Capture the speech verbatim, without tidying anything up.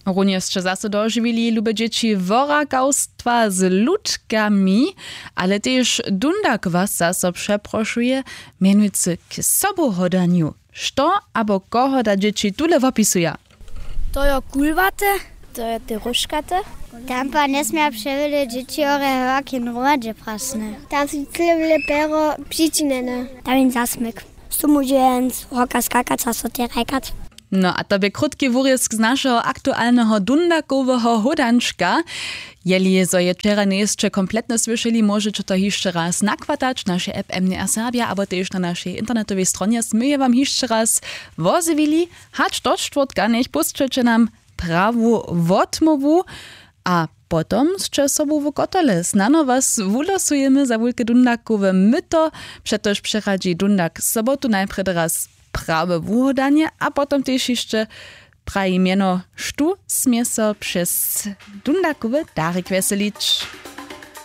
Runje sće zaso dožiwili, lube dźěći, worakawstwa z ludkami, ale tež dundak was zaso přeprošuje, mjenujcy k sobuhodanju. Što abo koho da dźěći tule wopisuja? To jo kulwaty, to jo te róžkaty. Tam pa njesmja přewjele dźěći hore hewaki hromadźe prasne. Tam su cyle wjele pero přičinjene. Tam je zasmyk. Stumudźenc, hoka skakac a so te rajkac. No a to bě krótki wurězk z našeho aktualneho dundakoweho hódančka. Jeli zo je wčera njejsće kompletnje słyšeli, móžeće to hišće raz nakwatać w našej app M D R Serbia abo tež na našej internetowej stronje smy je wam hišće raz wozjewili. Hač do štwórtka njech pósćeće nam prawu wotmołwu a potom sće sobu w kotole. Snano was wulosujemy za wulke dundakowe myto. Přetož přeradźi dundak sobotu najprjedy raz prawe wuhładanje a potom tež hišće praji mjeno, štó smě so přez dundakowy darik wjeselić.